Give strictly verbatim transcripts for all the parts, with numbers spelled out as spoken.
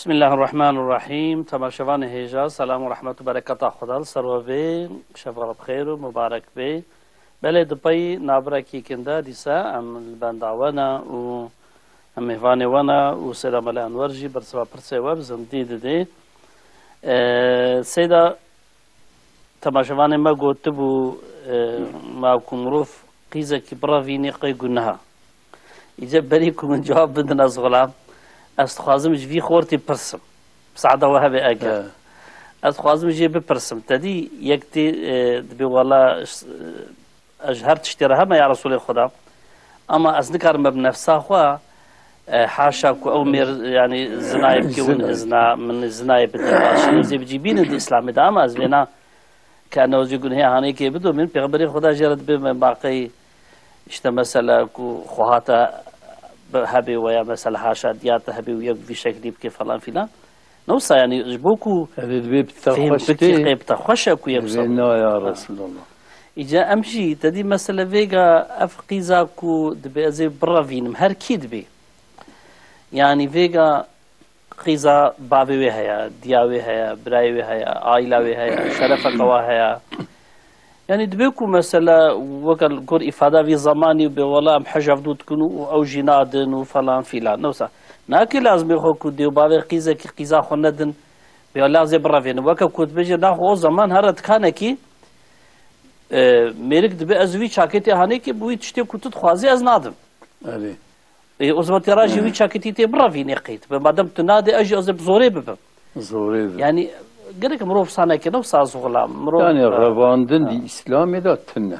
Bismillahirrahmanirrahîm. Temaşevanê hêja, selam û rehmet û bereketa Xweda li ser we bê. Şeva we bi xêr û mubarek bê. Belê, di pey nabirekî kin de dîsa em li benda we ne û em mêvanê we ne û Seyda Mele Enwer jî bersiva pirsê we bi zindî didê. Ee, Seyda, temaşevanê me gotibû, e, ma ku mirov qîzekî birevînî qey guneha. Îca berî ku min cewab bidin ez xulam, ez dixwazim ji vî xortî pirsim. Saada we hebe eger. He. Ez dixwazim jê bipirsim. Te dî yek tê, e, dibê wela, e, ez ji her tiştê re heme ya Resulê Xuda. Ama ez nikarim be bi nefsa xwe, e, haşa ku ew mêr, yani zinayê bike win Zinayê. Zina, min zinayê bide. Baş ez ê bicî bînin di Îslamê de ama ez vêna ke ne jî gunehê hanê kê bido min. Pêxemberê Xuda jê re dibê me baqey işte mesela ku xwe hata bi hebê we ya mesela haşa diyata hebê û yek vî şeklî bike falan filan. Ne wisa yani ji bo ku Erê dibê bi te fêm xweş bikî tê. Qey bi te xweş e ku yek Dibê wisa. Na ya Ha. Resulallah. Îca em jî te dî mesele vêga ev qîza ku dibê ez ê birevînim her kî dibê. Yani vêga qîza bavê wê heye, diya wê heye, birayê wê heye, aîla wê heye, şerefeka wa heye. Yani dibê ku mesela weke li gor îfada vî zemanî bê wela em hej hevdû dikin û ew jî nadin û falan filan. Ne wisa. Nake lazimê xwe ku dê û bavê qîzekî qîza xwe nedin. Bê lazê birevênin. Weke ku dibêje naxwe o zaman here dikanekî, e, mêrik dibê ez vî çaketê hanê kê bi wî tiştê ku tu dixwazî ez nadim. Erê. Ê, o zaman tê ra jî wî çaketî tê birevînê qeyt. Be madem tu nadê, ez jî ez ê bi zorê bibim. Zorê bibim. Yani, gerek mirov wisa neke, ne wisa ez xulam. Mirov Yani, Ha. revandin Ha. di Îslamê de tune.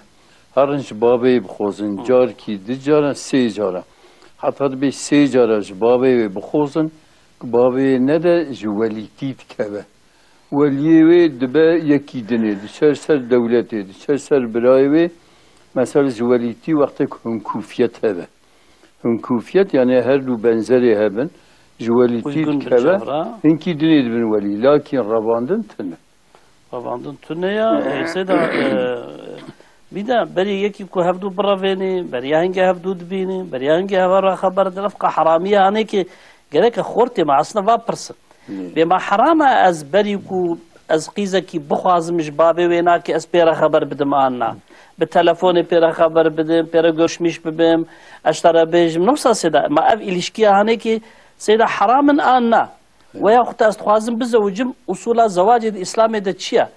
Herin ji bavê bixwazin, Hı. carkî, du cara, sê cara. Heta dibê sê cara ji bavê wê bixwazin, ku bavê wê nede ji welîtî dikeve. Weliyê wê dibe yekî dinê, diçe ser dewletê, diçe ser birayê wê, mesela ji welîtî wextê ku hinkûfiyet hebe. Hinkûfiyet, yani her du benzerê hebin, ji welîtî Uygun bir dikeve, cevra. hinkî dinê dibin welî. Lakîn revandin tune. Revandin tune ya, e, Seyda, e, bir de berî yekî ku hevdu birevênî, beriya hingê hevdu dibînî, beriya hingê heve re xeber din, ev qe heramiye hanê ki gereke xortê me aslında va pirsin. Lê. Bê ma heram e ez berî ku ez qîzekî bixwazim ji bavê wê nake ez pê re xeber bidim an na. Bi telefonê pê re xeber bidim, pê re görüşmîş bibim, ez te re bêjim, ne wisa Seyda, ma ev îlişkiya hanê ki Seyda heram in an na. Weya xwe ez dixwazim bizewicim, usula zewacê di Îslamê de çi ye?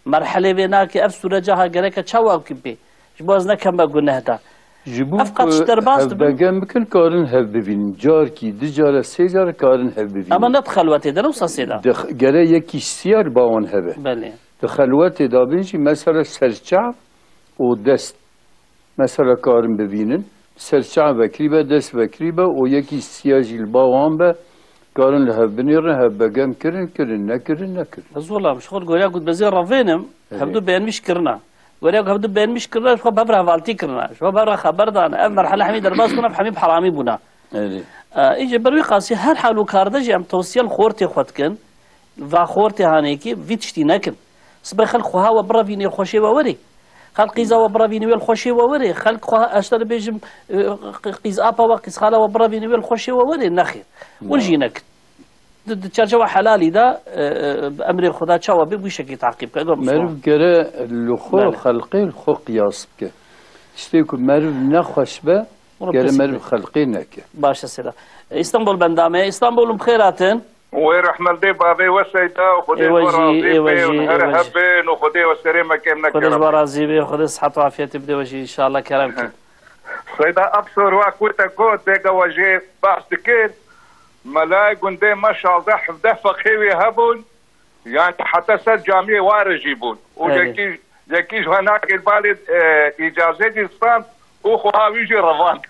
Merhelê vê nake ev sûreca ha gereke çawa wekî bê? Ji bo ez nekeme guneh de. Ji bo Ev qat ku ji derbas dibin. hevbegem bikin, karin hev bivînin. Carkî, du cara, sê cara karin hev bivînin. Ama ne di xelwetê de, ne wisa Seyda. Di x-, gere yekî siyar bawan hebe. Belê. Di xelwetê de bin jî mesela serçav û dest. Mesela karin bivînin. Serçav vekirî be, dest vekirî be û yekî siya jî li bawan be. Karin li hev binêrin, hev begem kirin, kirin, nekirin, nekirin. Ez wela ji xwe goriya ku dibê ez ê revênim, Erê. hevdu beğenmiş kirina. Goriya ku hevdu beğenmiş kirina, ji xwe bev re hevaltî kirina. Ji xwe bev re xeber dane. Ev merhele hemî derbas bûna, ev hemî bi heramî bûna. Erê. E, îce ber wî qasî her hal û kar de jî em tewsiye li xortê xwe dikin. Va xortê hanê ki vî tiştî nekin. Sibê xelk xweha we birevînê xweşê we werê. Xelk qîza we birevînê wê li xweşê we werê. Xelk xweha ez te dibêjim, e, qîz apa we, qîz xala we birevînê wê li xweşê we werê. Nexêr. Win jî nekin. Di, di çerçewa helalî de, e, e, bi emrê Xuda çawa bê, bu şekî taqîb ke. Meriv gere li xwe Belê. xelqê li xwe qiyas bike. Tiştê ku meriv nexweş be, Bunu gere pes meriv bike. xelqê neke. Baş e Seyda. E, İstanbul bendame. İstanbul'um xêr hatin. Wê rehmel dê bavê we Seyda û Xwedê ji we razî bê û her hebin û Xwedê we serê me kêm neke. Xwedê ji we razî bê, Xwedê sihet û afiyetê bide we jî inşallah kerem ke. Seyda ev sorwa ku te got, dêga we jê behs dikir, melayê gundê me şazdeh hevdeh feqê wê hebûn, yani heta ser camiyê ware jî bûn. Û yekî, yekî ji henakê balê, e, îcazê jî stand û xweha wî jî revand.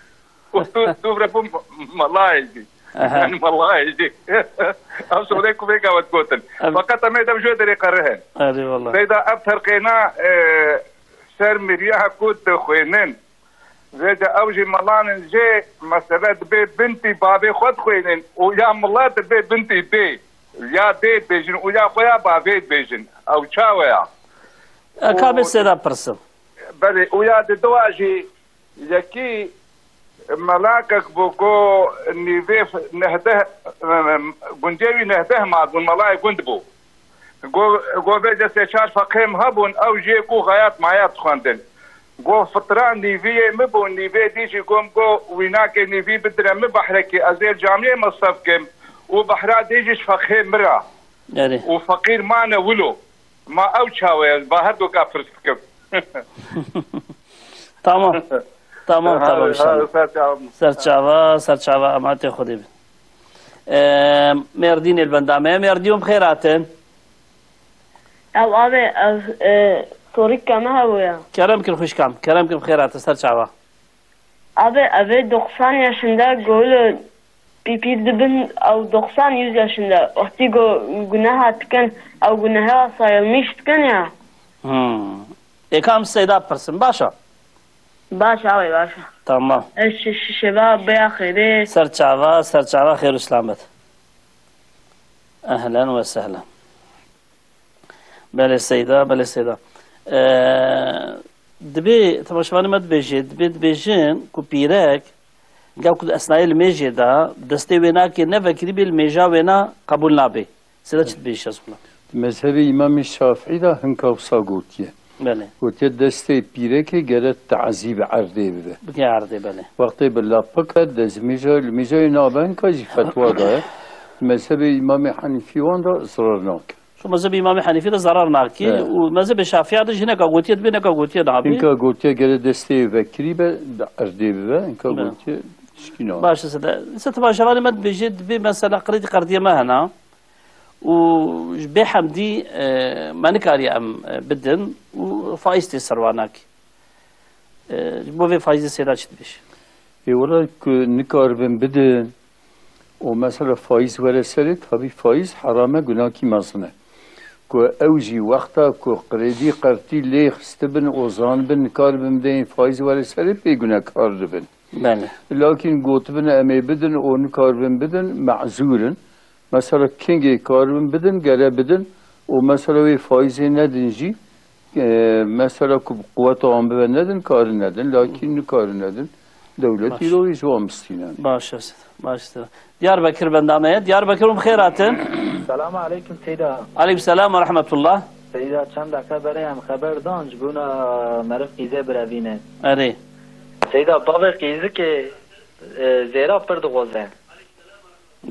Û tu, tu bire bû melayê jî. Aha. Yani melayê jî. Ev sorê ku vêga we digotin. Em Feqet em ê dev jê derê qerihin. Erê wallah. Seyda ev terqêna, e, ser miriya ku dixwênin. Vêca ew jî melan in jê mesele dibê bintî bavê xwe dixwênin û ya mila dibê bintî dê. Ya dê dibêjin û ya xwe ya bavê dibêjin. Ew çawe ya? E, ka bê Û Seyda pirsim. Belê, û ya didoa jî Yekî melakek bû ku nîvê f-, nehdeh em, em, gundê wî neh deh mal bûn, melayê gund bû. Go, go vêce sê çar feqihê min hebûn, ew jê ku xeyat mayat dixwendin. Go fitra nîviyê min bû, nîvê dî jî gom go wînakê nîvî bidire min behrekî, ez ê camiyê mesref kim û behra dî jî ji feqihê min re. Erê. Û feqîr mane wilo. Ma ew çawa ye? Ba her doka pirs dikim. Tamam. Tamam, tamam, inşallah. Ser çava. Ser çava, ser çava, emanetê Xwedê bin. Ee, Mêrdînê li benda me ye. Mêrdîn bi xêr hatin. Ew avê, ev, e, torîka me hebûye. Kerem kin xwişkam, kerem kin bi xêr hatin, ser çava. Abi, ev ê doksan yaşında golo pîpî dibin, ew doksan yüz yaşında. Wextî go guneha dikin, ew guneha sayılmış dikin ya. Hmm. Ê kam Seyda pirsin, baş e? Baş abi, baş e. Tamam. Ez şi-, şi-, şeva bêya xêrê. Ser çava, ser çava, xêr û selamet. Ehlen ve sehlen. Belê Seyda, belê Seyda. Ee, dibê, temaşevanê me dibêjê, dibê dibêjin ku pîrek, gel ku di esnayê limêjê de, destê wê nake ne vekirî bê, limêja wê na qebûl nabê. Seyda çi dibêjî ez xwina? Di mezhebê Îmamê Şafîî de hinka wisa gotiye. Belê. Gotiye destê pîrekê gere tazî bi erdê bibe. Bike erdê, belê. Wextê bi lap bike, destmêja, limêja wê nabe, hinka jî fetwa daye. Di mezhebê Îmamê Henîfî wan de zirar nake. Şu mezhebê Îmamê Henîfî de zarar nakî Evet. û mezhebê Şafîya de jî hineka gotiye dibê, hineka gotiye nabî. Hinka gotiye gere destê vekirî be, bi erdê bibe, hinka Evet. gotiye tişkî nabe. Baş e, Seyda. Îsa temaşevanê me dibêje, dibê mesela qirêdî qerdiyê me hena û ji bê hemdî, e, me nikariye em, e, bidin û faîz tê ser wan nakî. E, ji bo vê faîzê Seyda çi dibêje? Ê, wela ku nikaribin bidin, û mesela faîz were serê, tabî faîz heram e, gunakî mezin e. Ku ew jî wexta ku qirêdî qertî lê xistibin û zanibin nikaribin bideyên faîz were serê, pê gunekar dibin. Belê. Lakîn gotibin em ê bidin û nikaribin bidin, mezûr in. Mesela kengê karibin bidin, gere bidin û mesela wê faîzê nedin jî, e, mesela ku bi quweta wan bibe nedin, karin nedin, lakîn nikarin nedin. Dewlet Baş. îro wî ji wan bistîne. Baş e, baş e. Diyarbekir benda me ye. Diyarbekir hûn bi xêr hatin. Selamu aleykum Seyda. Aleykum selam ve rahmetullah. Seyda, çend deqe berê em xeber dan ji bona meriv qîzê birevîne. Erê. Seyda, bavê qîzikê, e, zêra pir dixwaze.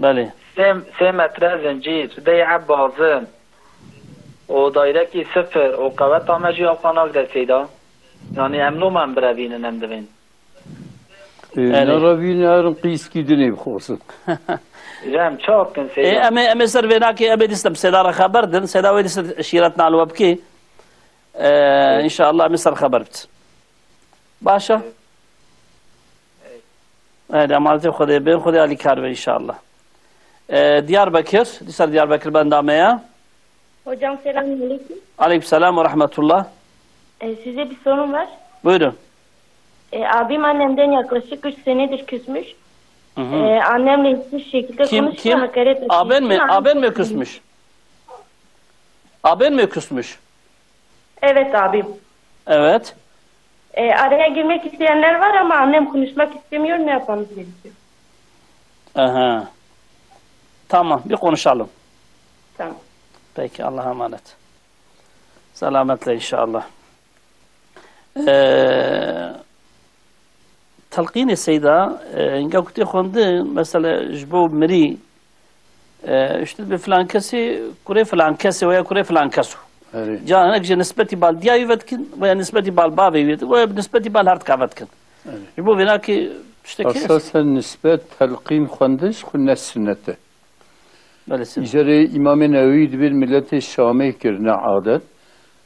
Belê. Sê, sê metre zincîr, dey eb bazin û dayrekî sifir û qeweta me jî axa nagde Seyda. Yanî em loma em birevînin, em divên. Ê, Erê. nerevînin herin qîskî dinê bixwazin. Ji em çawa bikin Ê, Seyda? em ê, em ê ser vê nakê, em ê dîsa bi Seyda re xeber din. Seyda wê dîsa şîret nal we bikê. Ê, Ê. înşallah em ê ser xeber bit. Baş e? Ê, emanetê Xwedê bin, Xwedê alîkar be înşallah. Ê, Diyarbekir, dîsa Diyarbekir benda me ye. Hocam, selamünaleyküm. Aleyküm selam ve rahmetullah. Ee, size bir sorum var. Buyurun. Ee, abim annemden yaklaşık üç senedir küsmüş. Hı hı. Ee, annemle hiçbir şekilde Kim, konuşmuyor, kim? hakaret ettiği Aben için mi, annem aben mi çok küsmüş? Aben mi küsmüş? Evet, abim. Evet. Ee, araya girmek isteyenler var ama annem konuşmak istemiyor, ne yapmamız gerekiyor? Aha. Tamam, bir konuşalım. Tamam. Peki, Allah'a emanet. Selametle inşallah. Ee, telqînê Seyda, e, hinga ku tê xwendin, mesela ji bo mirî, e, işte bi filan kesê, kurê filan kesê veya kurê filan keso. Erê. Ca hinek ji nisbetî bal diya wî vedikin veya nisbetî bal bavê wî vedikin veya bi nisbetî bal her tika vedikin. Erê. Ji bo vêna ki tiştekî Esasen nisbet telqîn xwendin ji xwe ne sunnet e. Belê, sê. Îcarê Îmamê Newewî dibên miletê Şamê kirine adet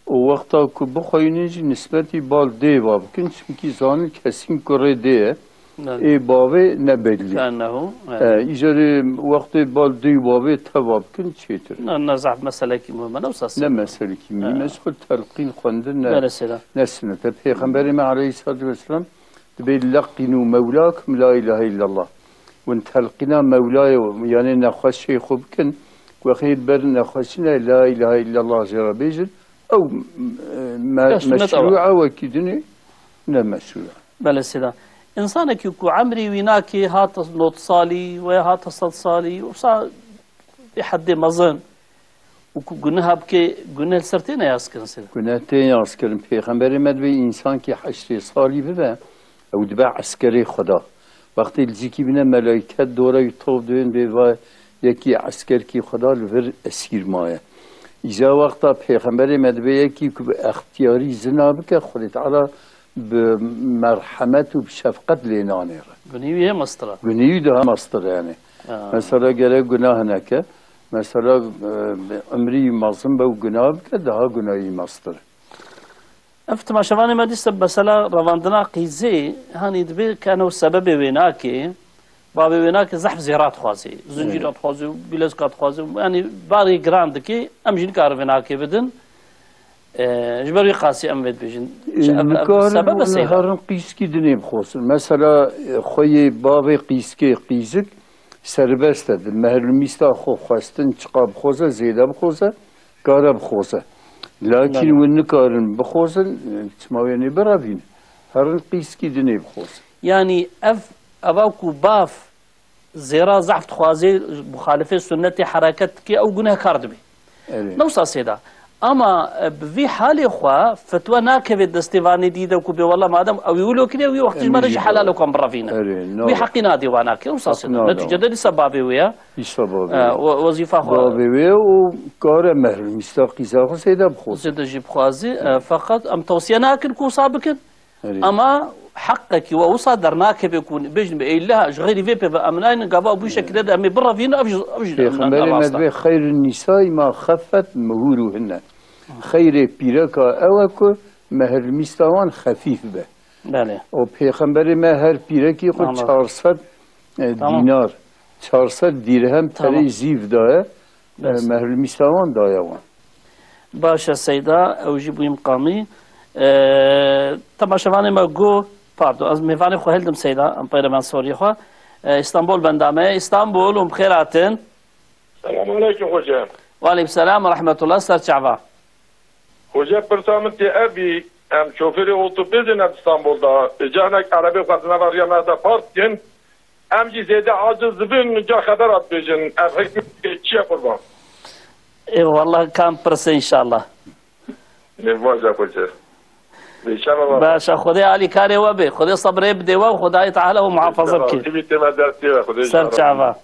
û wexta ku bixweynin jî nisbetî bal dê va bikin, çimkî zanin kesîn kurê dê ye. Belê. Ê bavê ne bellî. Ke'ennehu, E, evet. Îcarê wextê bal dê û bavê teva bikin çêtir. Ne, ne zaf meselekî muhim e, ne wisa Ne sê. meselekî muhim e, Evet. ji xwe telqîn xwendin ne, Belê, sê. ne sunnet e. Pêxemberê me aleyhissalatu vesselam dibê leqînû mewlakum la ilahe illallah. Hûn telqîna mewlayê, yanê nexweşê xwe bikin, wexê ber nexweşine la ilahe illallah jê re bêjin, ew, e, me-, Ya, sunnet ew e. meşrû e, wekî dinê ne meşrû e. Belê Seyda. Însanekî ku emrî wî nake hate nod salî we hate sed salî, wisa bê heddê mezin û ku guneha bike, guneh li ser têne yazkirin sêda? Guneh tên yazkirin. Pêxemberê me dibê însankî heştê salî bibe, ew dibe eskerê Xweda. Wextê li cîkî bîne melayket dore wî top dibên bê va yekî eskerkî Xweda li vir esîr maye. Îja wexta pêxemberê me dibê yekî ku bi extiyarî zina bike, Xwedê Teala bi merhemet û bi şefqet lê nanêre. Gunî wî hê mestir e. Gunî wî daha mestir e yani. Ha. Mesela gerek gunah neke. Mesela, e, emrî mezin be û gunah bike, daha gunahî mestir e. Ev temaşevanê me dîsa mesela revandina qîzê, hanî dibê keno sebebê wê nake, bavê wê nake zehf zêra dixwazê, zincîra dixwazê, bilezka dixwazê, yani barê giran dike, em jî nikarin vê nake bidin. E, ji ber wî qasî em vê dibêjin. E, Çi ev, ev nikarin sebeb e û seyda? Herin qîskî dinê bixwazin. Mesela, e, xweyê bavê qîskê qîzik serbest e. Di mehrlumîsta xwe xwestin çiqa bixwaze, zêde bixwaze, kare bixwaze. Lakin Belê. Win nikarin bixwazin, e, çima wê nê birevîn? Herin qîskî dinê bixwazin. Yani ev, eva ku bav zêra zehf dixwazê, muxalifê sunnetê hereket dike, ew gunehkar dibe. Evet. Ne wisa sêda. Ama, e, bi vî halê xwe fetwa nakeve destê vanê dî de ku bê wela madem ew ê wilo kiriye, wî wextî ji me re jî helal e ku em birevîne. Evet, wî heqî nadê wana ke, wisa sêda. Netîcede dîsa bavê wê ye. Dîsa bavê wê. E, we-, wezîfa xwe. Bavê wê û kare mehrûm, îsta qîza xwe sêda bixwazin. Zêde jî bixwazî, e, feqet em tewsiye nakin ku wisa bikin. Erê. Ama heqekî we wisa dernakeve ku bêjin be, ey la ji xeyrî vê pê ve em naynin, gava bû şekilde de em ê birevînin, ev jî, ev jî ne, ne, Pêxemberê me rast e. Dibê, "Xeyrun nîsai ma xeffet muhûruhinne." Xeyrê pîreka ew e ku mehrlmîsta wan xefîf be. Belê. Û Pêxemberê me her pîrekî xwe Anladım. çar sed, e, Tamam. dînar, çar sed dîrhem Tamam. perê zîv daye, e, Bes. mehrlmîsta wan daye wan. Baş e Seyda, ew jî bûyî miqamî. E, temaşevanê me got, pardon, ez mêvanê xwe hildim Seyda, em peyre ben soriyê xwe. E, Îstanbul benda me ye. Îstanbul, hûn bi xêr hatin. Selamun aleykum xoca. Ve aleykum selam ve rahmetullah, ser çava. Xoca, pirsa min tê ev bî, em şofêrê otobusê ne di Stenbolda, canek erebê xwe di nava riya me de park dikin, em jî zêde aciz dibin, ca xebera dibêjin, ev hikmetê çi ye qurban? Ê, wallah, kam pirse înşallah. Ê, baş e xoca. Ê, şeva baş. Baş e, Xwedê alîkarê we bê, Xwedê sebrê bidê we û Xwedayê Teala we muhafaza bike. Ê, şeva, tê me destê we, Xwedê Ser şeva. çava.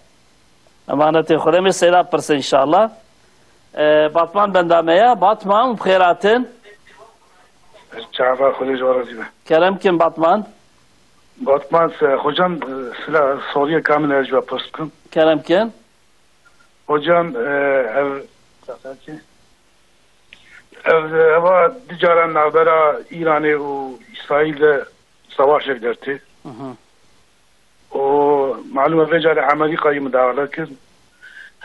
Emanetê Xwedê, em ê Seyda pirsin înşallah. Ee, Batman benda me ya. Batman, bi xêr hatin. Çava Xwedê ji we razî be. Kerem kin Batman. Batman, se-, hocam, e, sila soriyê kamil ez ji we pirs bikim. Kerem kin. Hocam, e, ev, ev, eva di caran navbera Îranê û Îsraîl de savaşek dertê. Hı hı. û malûm e vê carê Amerîkayê midahale kir.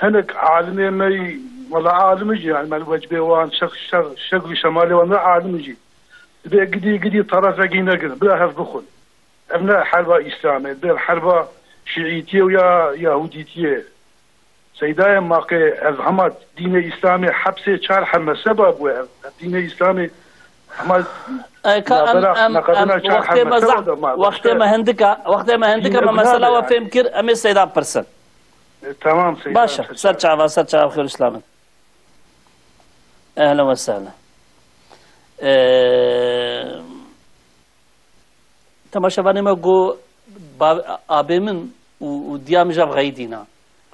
Hinek alimê me yî, wela alim jî, yani, me li wecibê wan, şek-, şer-, şekl û şemalê wan ne alim jî. Dibê gidî, gidî terefekî negin, bila hev bixwin. Ev ne herba Îslamê, dibê herba Şiîtiyê û ya Yahudîtiyê. Seydayê maqê ev hema dînê Îslamê hepsê çar hemeseba bû ev. Ev dînê Îslamê hema E, ka em, navbera em, em, neqedina çar wextê me hemeseba zehf, de ma wextê me hindika, wextê me hindika, me mesela we fêm kir, em ê Seyda pirsin. E, tamam, Seyda, Baş e, ser çava, ser çava, xêr û selamet. Ehlen ve sehlen. E, Temaşevanê me got, ba-, abê min û, û diya min jev xeyidîna.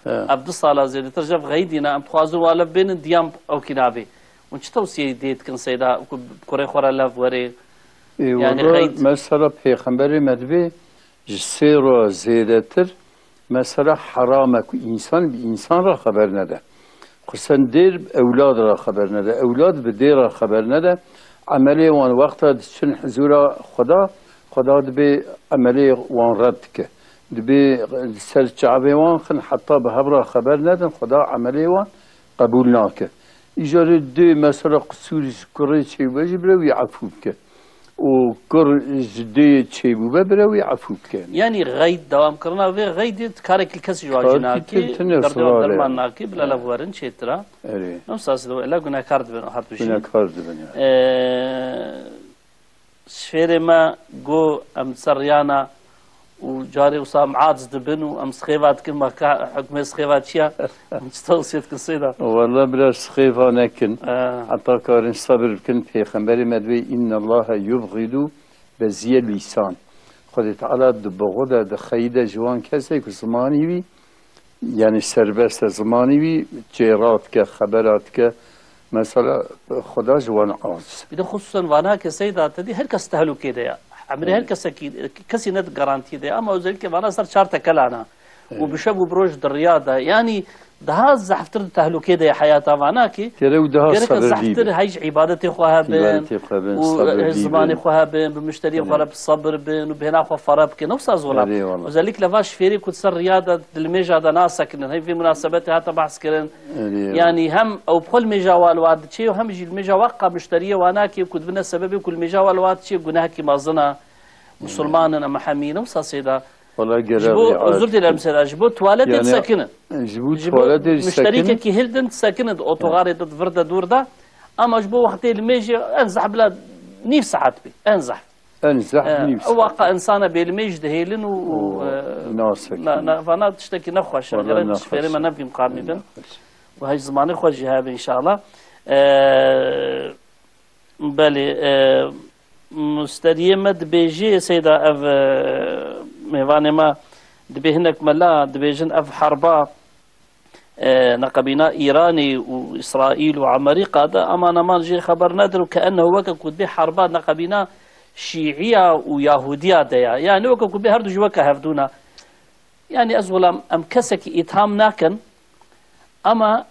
He. Ev du sala zêdetir jev xeyidîna, em dixwazin wa lev bênin, diya min ew kî nabê. Hûn çi tewsiyeyê dê dikin Seyda, ku bi kurê xwe re lev werê? Ê, Yani wela xeyid- mesela Pêxemberê me dibê ji sê ro zêdetir, mesela heram e ku însan bi însan re xeber nede. Xusûsen dêr bi ewlad re xeber nede. Ewlad bi dêr re xeber nede. Emelê wan wexta diçin hizûra Xweda, Xweda dibê emelê wan red dike. Dibê li ser çavê wan xin heta bi hev re xeber nedin, Xweda emelê wan qebûl nake. Îcarê dê mesela qisûrî ji kurê çêbûbe jî bire wî efû bike. û kur ji dê çêbûbe bire wî efû bike. Yanî xeyd, dewamkirina vê xeydê karekî kesî ji wan jî Karekî nakê, tune derdê wan sirar e. derman nakê, bila lev werin çêtir e. Erê. Em sasî de wela gunehkar dibin, hat bişî. Gunehkar dibin, ya. Ee, şêrê me got, em ser riyana û carê wisa em aciz dibin û em sixêva dikin, ma ka hukmê sixêva çi ya? Em çi tewsiye dikin Seyda? Wele biraz sixêva nekin. He. Heta karin sebir bikin, Pêxemberê me dibê, "Innallaha yubghidu beziyel lisan." Xwedê Teala dibixwide, dixeyide ji wan kesê ku zimanî wî, yanî serbest e, zimanî wî çêra dike, xebera dike. Mesela Xweda ji wan aciz. Bir de xusûsen vana ke Seyda te dî her kes tehlûkê de ya. Emrê her kesekî, kesî ne di garantiyê de ya, ama özellikle vana ser çar tekelana. Û bi şev û bi roj di riya de. Yanî daha zehftir di tehlûkê de ya heyata vana ki. Gerek daha gerek sabirlî zehftir be. Hej îbadetê xwe hebin. Îbadetê xwe hebin, û sabirlî hej zimanê bin. Xwe hebin, bi muşteriyê xwe re bi sabir bin û bêhna xwe fere bikin. Ne wisa zola. Erê wala. Özellikle va şifêrê ku di ser riya de, di limêja de nasekinin. Heyv vê munasebetê hate behs kirin. Erê. Yanî hem ew bi xwe li mêja wa li wa diçê û hem jî li mêja wa qa muşteriyê wa nake ku dibine sebebê ku li mêja wa li wa diçê gunehekî mezin e. Musulman in, em hemî ne wisa Seyda. Wala ji bo, özür dilerim Seyda, ji bo tuwaletê disekinin. Ji bo tuwaletê disekinin. Muşterîkekî hildin disekinin, di otogarê de, di vir de, dûr de. Ama ji bo wextê li mêjê en zehf bila nîv saet bî. En zehf. En zehf nîv saet. Ew waqa insana bêlimêj dihêlin û, û, e, nasekin. Na, na, vana tiştekî nexweş e. Wala nexweş e. Gerek ji fêrê me nevîm qarmî bin. Nexweş. Û hej zimanê xwe jî hebe înşallah. E, belê, e, musteriyê me dibêjê, Seyda, ev, e, mêvanê me dibê hinek mela dibêjin ev herba e, neqebîna Îranê û Îsraîl û Amerîka de, aman aman jê xeber nedir û keennehu weke ku dibê herba neqebîna Şîiya û Yahudiya de ya. Yani weke ku bê her du jî weke hevdû ne. Yani ez welam em kesekî îtham nakin, ama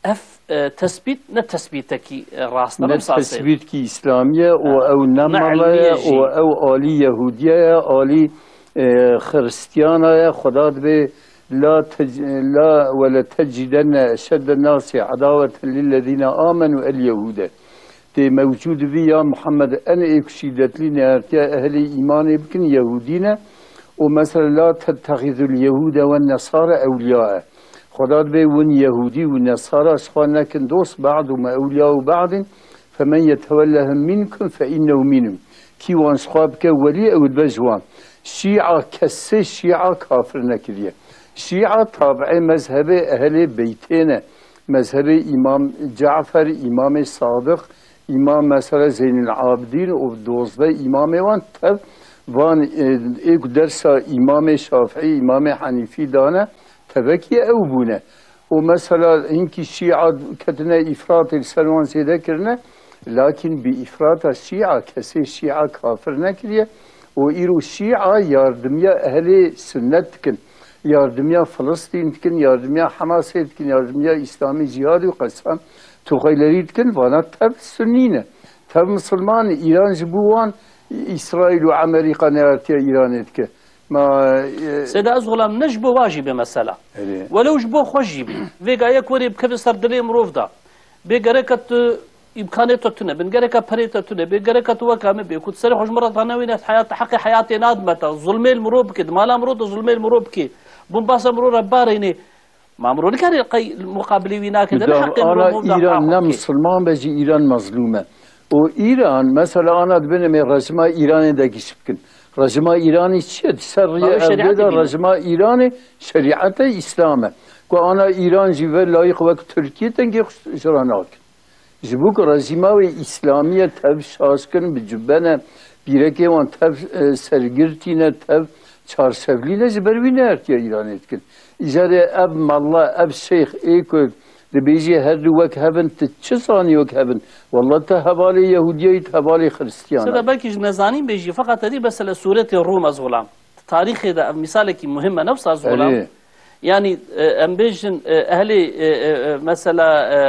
ev, e, tesbît ne tesbîtekî, e, rast e. Ne tesbîtkî îslamî ye û ew ne mele ye û ew alî Yehûdiye ye, alî, e, Xiristiyana ye. Xweda dibê, "La tec-, la we le tecidenne eşedde nasi edaweten lillezîne amenu el Yehûde." Tê mewcûd bî ya Muhammed, en ê ku şîdetlî neyartiya ehlê îmanê bikin Yehûdî ne. Û mesela, "La tettexîzul Yehûde wen Nesare ewliyae." Xweda dibê win Yehûdî û Nesara ji xwe nekin dost, "Ba'du me ewliyau ba'din, femen yetewellehum minkum fe innehu minhum." Kî wan ji xwe bike welî, ew dibe ji wan. Şîa, kesê Şîa kafir nekiriye. Şîa tabiê mezhebê ehlê beytê ne. Mezhebê Îmam Cafer, Îmamê Sadiq, Îmam mesela Zeynil Abidîn û dozdeh îmamê wan tev van, e, ê ku dersa Îmamê Şafîî, Îmamê Henîfî dane, tevekî ew bûne. Û mesela hinkî Şîa ketine îfratê li ser wan zêde kirine, lakin bi îfrata Şîa kesê Şîa kafir nekiriye. Û îro Şîa yardimiya ehlê sunnet dikin. Yardimiya Filistîn dikin, yardimiya Hamasê dikin, yardimiya Îslamî Cîhadî û qesam Tuxeylerî dikin, vana tev Sunnî ne. Tev Misilman, Îran ji bo wan Îsraîl û Amerîka neyartiya Îranê dike. Ma, e, Seyda, ez xulam ne ji bo wa jî bê mesela. Erê. Welew ji bo xwe jî bî. Vêga yek werê bikeve ser dilê mirov da. Bê gereke tu îmkanê te tune bin, gereke perê te tune bê, gereke tu weka min bê, ku tu serê xwe ji min re danewîne, heyat, heqê heyatê nadime te, zulmê li mirov bike, di mala mirov de zulmê li mirov bike, bombasa mirov re barênê. Ma mirov nikare qey muqabilê wî nake, de ne heqê mirov mov da. Îran ne misilman be jî Îran mezlûm e. Û Îran, mesela, ana dibêne me rejima Îranê de giş bikin. Rejima Îranê çi ye? Di ser riyê ev bê de rejima Îranê şerîeta Îslam e. Ku ana Îran jî ve layîq wek Tirkiye dengê xwe ji re nakin. Ji bo ku rejîma wê îslamî ye, tev şaş kirin, bi cubbe ne, pîrekê wan tev, e, sergirtî ne, tev çarşevlî ne, ji ber wî neyartiya Îranê dikin. Îcarê ev malla, ev şeyx ê ku dibêjê her du wek hev in, tu çi zanî wek hev in? Wallah te hevalê Yehûdiyayî, tu hevalê Xiristiyana. Seyda, belkî ji nezanîn bêjî, feqet te dî mesela sûretê Rûm ez xulam. Tarîxê de ev mîsalekî muhim e, ne wisa ez xulam. Erê. Yanî, e, em bêjin, e, ehlê, e, e, e, mesela, e,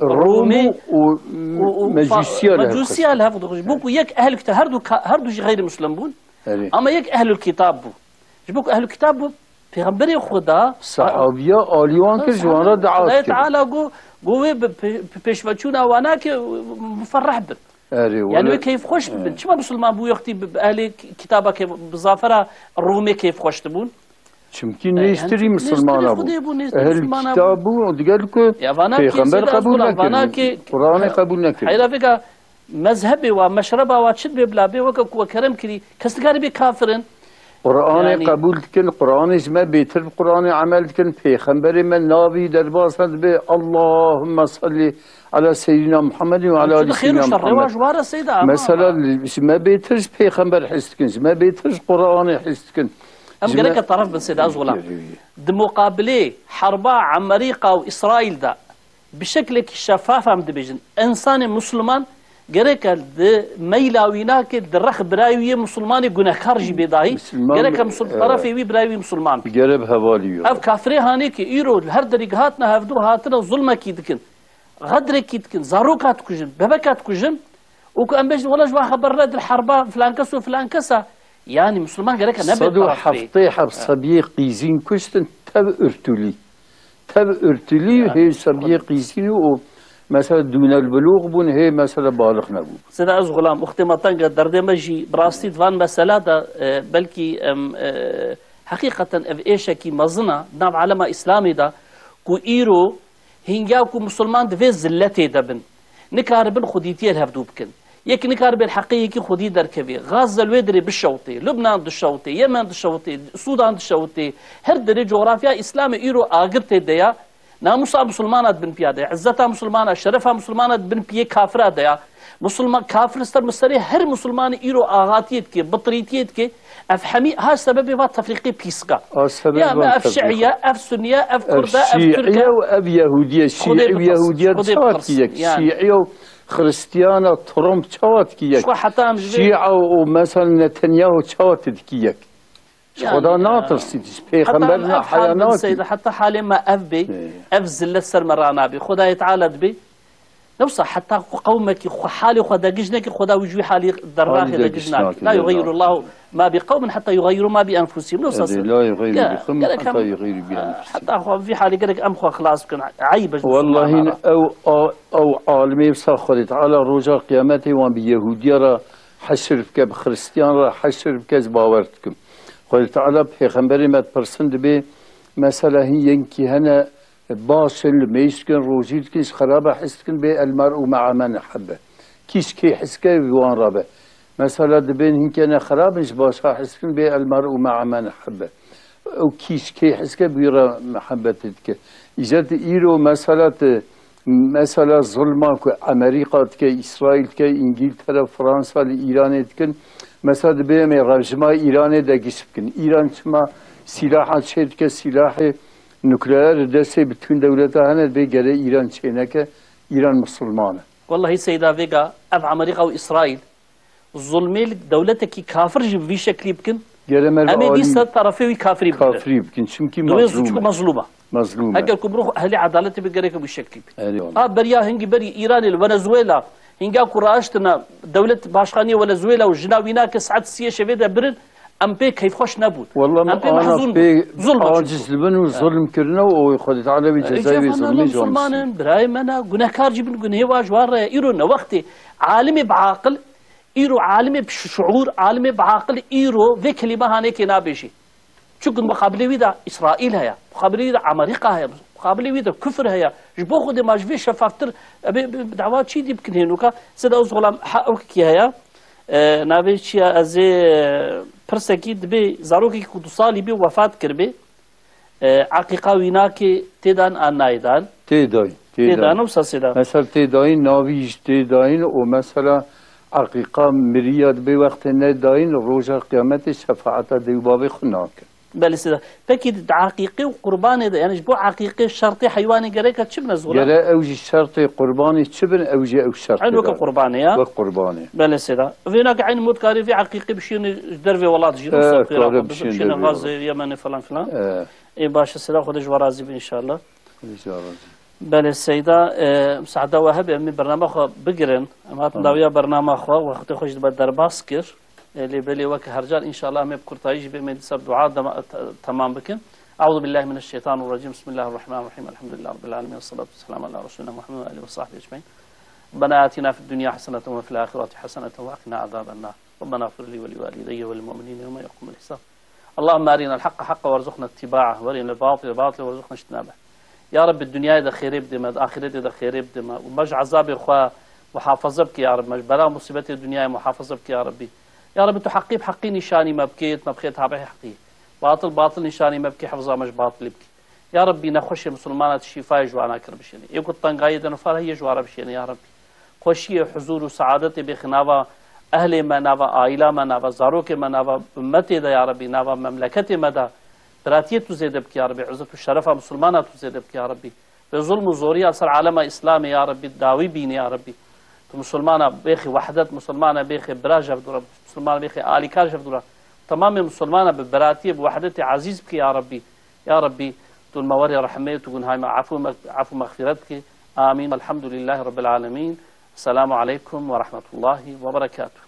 Rom Rûmê û, û û, û Mecûsiya fa-, li hev Mecûsiya li hev dixwî. Bo ku yek ehl kite-, her du ka-, her du jî xeyrî muslim bûn. Erê. Ama yek ehlul kitab bû. Ji bo ku ehlul kitab bû, Pêxemberê Xuda Sehabiya alî wan kir, ji wan re dua kir. Xwedayê Teala got, got wê bi pê-, bi pêşveçûna wan nake, muferreh bin. Erê, yani wê keyfxweş bibin. Çima musulman bû, wextî bi, bi ehlê ki-, kitaba keyf-, bi zafera Rûmê keyfxweş dibûn? Çimkî nêztirî misilmana bû. Ehl kitab bû, digel ku pêxember qebûl nekir, Quranê qebûl nekir. Heyra vêga mezhebê wa, meşreba wa çi dibê bila bê, weke ku we kerem kirî, kes nikare bê kafir in. Qur'anê Yani qebûl dikin, Qur'anê ji me bêtir bi Qur'anê emel dikin, pêxemberê me navî derbas ne dibe, Allahümme salli ala seyyidina Muhammedin ve ala Çi ali xêr û seyyidina şer, Muhammed. Rêwa ji wan re Seyda, ama Mesela, ama. Ji me bêtir ji pêxember his dikin, ji me bêtir ji Qur'anê his dikin. Em Ji me gereke taraf bin Seyda, ez wila. Gerek. Di muqabilê herba Amerîka û Îsraîl de bi şeklekî şefaf em dibêjin. Însanê Musliman gereke di meyla wî nake, di rex birayê wî yê Muslimanê gunehkar jî bê dahî. Musulman, Gereke Musul-, e, tarafê wî birayê wî Musulman bê. Gere bi hevalî yo. Ev kafirê hanê ki îro li her derî hatine hevdû hatine zulmekî dikin. Xedrekî dikin, zaroka dikujin, bebeka dikujin. Û ku em bêjin, wela ji wan xeber ne, di herba filan kes û filan kes e. Yani Musulman gereke nebe taraf bê. Sed û heftê heb sebiyê qîzîn kuştin tev ürtülî. Tev ürtülî Yani, hê sebiyê qîzîn û mesela dûnel bilûx bûn, hê mesela balix nebû. Seyda ez xulam, uxtê me teng e, derdê me jî bi rastî di van mesela de, e, belkî em, e, heqîqeten ev êşekî mezin e, di nav alema Îslamê de ku îro hînga ku Musulman di vê zilletê de bin, nikaribin xwedîtiyê li hevdû bikin. Yek nikaribe li heqê yekî xwedî derkevê. Gaze li wê derê bişewtê, Lubnan dişewtê, Yemen dişewtê, Sûdan dişewtê. Her derê cografya Îslamê îro agir tê de ya. Namusa Musulmana di bin piya de ya. Îzzeta Musulmana, şerefa Musulmana di bin piyê kafira de ya. Musulman, kafir ser miserê her Musulmanî îro axatiyê dike, bitirîtiyê dike. Ev hemî ha sebebê va tefrîqê pîska. A sebebê Ya, va ev tefrîqê. Şiiye, ev Sunniye, ev Ev Kurd e, ev Türk Şiiye e. û ev Yehûdiye. Şiiye û Yehûdiye çawa dike yek? Yani. Şiiye û Xristiyana Trump çawa dike yek? Şiiye û mesela Netanyahu çawa dike yek? Ji Xweda natirsî, ji pêxember ne haya nakî. Heta halê me ev bê, ev zillet ser me ranabê. Xwedayê Teala dibê, ne wisa heta ku qewmekî xwe halê xwe degij neke, Xweda wî ji wî halî dernaxê degij nake. La yuxeyyirullahu ma bi qewmin heta yuxeyyiru ma bi enfusihim. Ne wisa Edê, ser. La yuxeyyiru Ya, bi qewmin gerek heta em, yuxeyyiru bi enfusihim. Heta xwe vî halê gerek em xwe xilas bikin. Eyb e ji Wellahî Musulmana re. ew a-, ew alimê wisa Xwedê Teala roja qiyametê wan bi Yehûdiya re heşir bike, bi Xristiyan re heşir bike, ez bawer dikim. Xwedê Teala pêxemberê me dipirsin dibê, mesela hîn yenkî hene, baş in, li mêj dikin, rojî dikin, ji xerabe hez dikin, bê el mer'u me'a men ehebbe. Kî ji kê hez ke, bi wan re be. Mesela dibên hinkê ne xerab in, ji başa hez dikin, bê el mer'u me'a men ehebbe. Ew kî ji kê hez ke, bi wî re mehebetê dike. Îcar tu îro mesela tu, mesela zulma ku Amerîka dike, Îsraîl dike, Îngîltere, Fransa li Îranê dikin. Mesela dibê em ê rejima Îranê de giş bikin. Îran çima sîlaha çê dike, sîlahê nukleer li destê bütün dewleta hene, dibê gere Îran çêneke, Îran misilman e. Wellahî Seyda Vêga, ev Amerîka û Îsraîl zulmê li dewletekî kafir jî bi vî şeklî bikin, Gere me em ê alî dîsa tarafê wî kafirî bigrin. Kafirî bikin, çimkî Dibê mezlûm e. Çimkî mezlûm e. Mezlûm e. Eger ku bi ruh ehlî edaletê bi gereke wî şeklî bî. Erê wala. A beriya hingî berî Îranê li Venezuela, hinga ku raştina dewlet başkaniyê Venezuela û jina wî nake saet siyê şevê de birin, em pê keyfxweş nebûn. Walla em pê ana mehzûn bûn. Pê Zulm aciz dibin û zulm kirine û Xwedê Teala wê cezayê wê zulmê jî Musulman in, birayê me ne, gunehkar jî bin, gunehê wa ji wan re ye. Îro ne wextê alimê bi aqil, îro alimê bi şuur, alimê bi aqil îro vê kelîme hanekê nabêjî. Çunku muqabilê wî de Îsraîl heye, muqabilê wî de Amerîka heye, muqabilê wî de kufir heye. Ji bo Xwedê ma ji vê şefaftir, e, bi, bi, bi dawa çî dî bikin hênoka. Sêda Ozoxlan, ha, ew kî heye, e, navê çi ye, ez ê, e, pirsekî dibê zarokekî ku du salî bî wefat kiribê, e, eqîqa wî nakê têdan an nayê dan? Tê dayîn, tê Tê dayîn. dan, wisa sêda. Mesela tê dayîn, navî jî tê dayîn û mesela eqîqa miriya dibê wextê nedayîn, roja qiyametê şefaeta dê û bavê xwe nake. Belê sêda. Pekî di eqîqê û qurbanê de, yani ji bo eqîqê şertê heywanê gereke çi bine zora? Gere ew jî şertê qurbanê çi bin, ew jî ew şertê Eyn weke de. Qurbanê ya? Wek qurbanê. Belê sêda. Vêna ki eyn mutkarê vê eqîqê bişîne ji dervê welat jî, E, wisa kare xêra xwe bişîne bişîne dervê Gazê, welat. Yemenê falan filan. E. Ê baş e sêda, Xwedê ji we razî be înşallah. Belê seyda, e, misada we hebe, em ê bernama xwe bigirin. Em hatin dawiya bernama xwe, wextê xwe jî dibe derbas kir. E, lê belê weke her car, înşallah em ê bi kurtayî jî bê, em ê dîsa bi dua dema-, te-, temam bikin. Euzu billahi mineşşeytanirracîm. Bismillahirrahmanirrahîm. Elhamdülillahi rabbil alemin. Ve salatu ve selamu ala resulina Muhammed ve alihi ve sahbihi ecmaîn. Rabbena atina fid dunya haseneten ve fil ahireti haseneten ve qina azaben nar. Rabbena iğfir li ve li valideyye ve lil mu'minine yevme yequmul hisab. اللهم أرنا الحق حقا وارزقنا اتباعه، وأرنا الباطل باطلا وارزقنا اجتنابه. Ya Rebbi, dinyayê de xêrê bidê me, di axîretê de xêrê bidê me. Û me ji ezabê xwe muhafaza bike ya Rebbi. Me ji bela musîbetê dinyayê muhafaza bike ya Rebbi. Ya Rebî, tu heqî bi heqî nîşanî me bikê, me bixê tabihê heqî. Batil batil nîşanî me bikê, hifza me ji batilî bikê. Ya Rebî, nexweşê misilmana tu şîfayê ji wana kir bişênê. Ê ku tengayê de nifar heye ji wana bişênê, ya Rebî. Xweşiyê, huzûr û seadetê bêxê nava ehlê me, nava aîla me, nava zarokê me, nava ummetê de, ya Rebî, nava memleketê me de. Biratiyê tu zêde bikî, ya Rebî. Îzzet û şerefa misilmana tu zêde bikî, ya Rebî. Vê zulm û zoriya ser alema Îslamê, ya Rebî, dawî bînî, ya Rebî. Tu misilmana bêxî wehdet, misilmana bêxî bira ji hev dû re, misilmana bêxî alîkar ji hev dû re. Temamê misilmana bi biratiyê, bi wehdetê ezîz bikî, ya Rebî. Ya Rebî, tu li me werê rehmê, tu gunhay me efû me-, efû mexfîret bikî. Amîn. Elhamdulîllahî Rebbil Alemîn. Selamu aleykum ve rahmetullahi ve berekatuh.